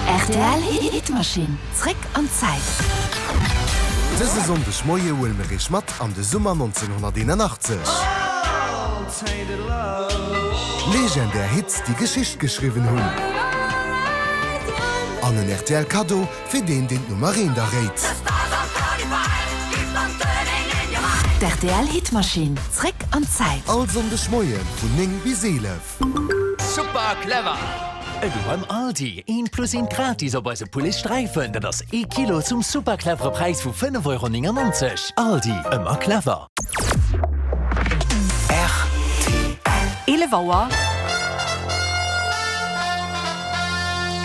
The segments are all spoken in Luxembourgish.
Rtl Hitmaschinn, zréck an d'Zäit. Dëse Sonndeg Moie huele mer iech mat an de Summer 1981. Legendär Hits, déi Geschicht geschriwwen hunn. An en rtl Kaddo fir deen, deen d'Nummer eent erréit. D'RTL Hitmaschinn, zréck an d'Zäit. All Sonndeg Moie vun 9 bis 11. Super clever! Elo beim Aldi, eent plus eent gratis op eise Poulet Sträifen, dat ass ee Kilo zum super clevere Präis vu 5,99 Euro. Aldi, ëmmer clever! Rtl. 11 Auer.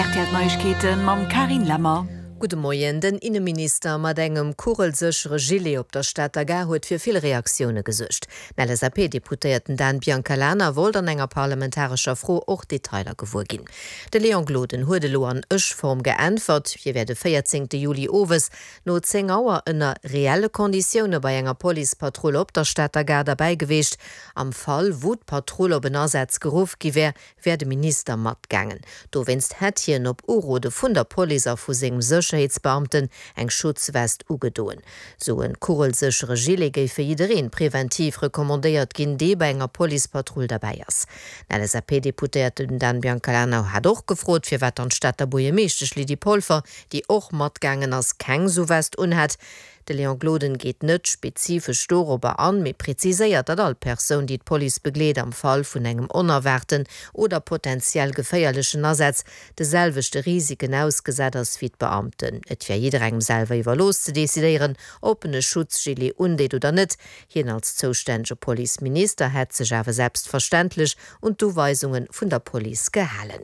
Rtl Neiegkeeten mam Carine Lemmer. Gudde Moien. Den Inneminister mat engem kugelséchere Gilet op der Stater Gare huet fir vill Reaktioune gesuergt. Den LSAP-Deputéierten Dan Biancalana wollt an enger parlamentarescher Fro och Detailer gewuer ginn. De Léon Gloden huet elo an Ech-Form geäntwert. Hie wär de 14 Juli owes no 10 Auer ënner reelle Konditioune bei enger Policepatrull op der Stater Gare derbäi geweecht. Am Fall wou d'Patrull op en Asaz geruff gi wär, wär de Minister matgaangen. Dowéinst hätt hien op Urode vun der Police a vu sengem Sécherheetsbeamten eng Schutzwest ugedoen. Sou en kugelséchere Gilet géif fir jiddereen preventiv recommandéiert ginn, dee bei enger Policepatrull derbäi ass. Den LSAP-Deputéierten Dan Biancalana hat och gefrot, firwat dann d'Stater Buergermeeschtesch Lydie Polfer, déi och matgaangen ass, keng sou West unhätt. De Léon Gloden geet net spezifesch dorobber an, mee präziséiert, datt all Persoun, déi d'Police begleet, am Fall vun engem onerwaarten oder potentiell geféierlechen Asaz de selwechte Risiken ausgesat ass wéi d'Beamten. Et wär jidderengem selwer iwwerlooss ze decidéieren, ob en e Schutzgilet undeet oder net. Hien als zoustännege Policeminister hätt sech awer selbstverständlech un d'Uweisunge vun der Police gehalen.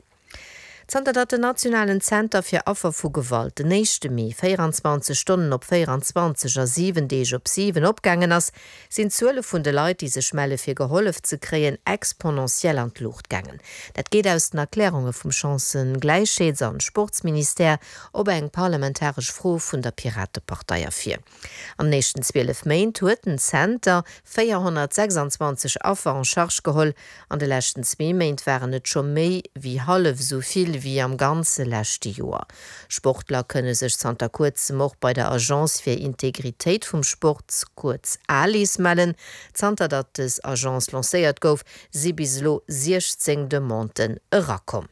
Zanter datt den Nationalen Zenter fir Affer vu Gewalt den éischte Mee 24 Stonnen op 24 a 7 Deeg op 7 opgaangen ass, sinn d'Zuele vun de Leit, déi sech melle fir gehollef ze kréien, exponentiell an d'Luucht gaangen. Dat geet aus den Erklärunge vum Chancëgläichheets an Sportsministère op eng parlamentaresch Fro vun der Piratepartei ervir. An den éischten 12 Méint huet den Zenter 426 Affer en charge geholl. An de leschten zwee Méint waren et scho méi wéi hallef esou vill wéi am ganze leschte Joer. Sportler kënne sech zanter kuerzem och bei der Agence fir Integritéit vum Sport, kuerz ALIS, mellen. Zanter datt dës Agence lancéiert gouf, si bis elo 16 Demanden erakomm.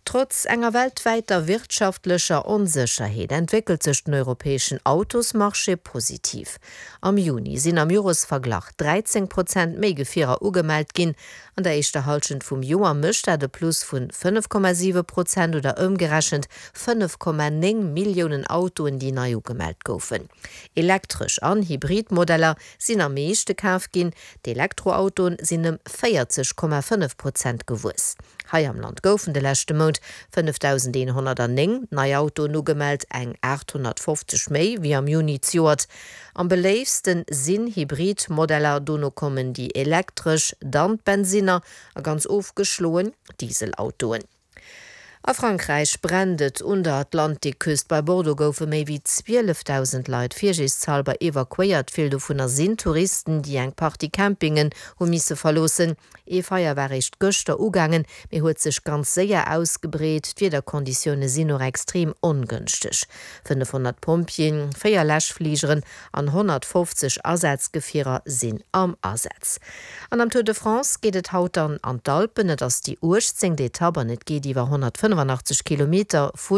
Trotz enger weltwäiter wirtschaftlecher Onsécherheet entwéckelt sech den europäeschen Autosmarché positiv. Am Juni sinn am Joresverglach 13 Prozent méi Gefierer ugemellt ginn. An der éischter Hallschent vum Joer mécht dat e Plus vun 5,7 Prozent oder ëmgerechent 5,9 Milliounen Autoen, déi nei ugemellt goufen. Elektresch an Hybrid Modeller sinn am meeschte kaf ginn, d'Elektroautoen sinn ëm 40,5 Prozent gewuess. Hei am Land goufen de leschte Mount 5.109 nei Autoen ugemellt, eng 850 méi wéi am Juni zejoert. Am beléiftste sinn Hybrid-Modeller, dono kommen déi elektresch, dann d'Bensinner a ganz ofgeschloen d'Dieselautoen. A Frankräich brennt et un der Atlantikküst. Bei Bordeaux goufe méi wéi 12.000 Leit virsiichtshalber evakuéiert. Vill dovunner sinn Touristen, déi eng Partie Campingen hu misse verloossen. Ee Feier war réischt gëschter ugaangen, mee huet sech ganz séier ausgebreet. D'Wiederkonditioune sinn och extrem ongënschteg. 500 Pompjeeën, 4 Läschfligeren an 150 Asazgefierer sinn am Asaz. An am Tour de France geet et haut dann an d'Alpen. Et ass déi 18. Etapp an et geet iwwer 185 Kilometer vu.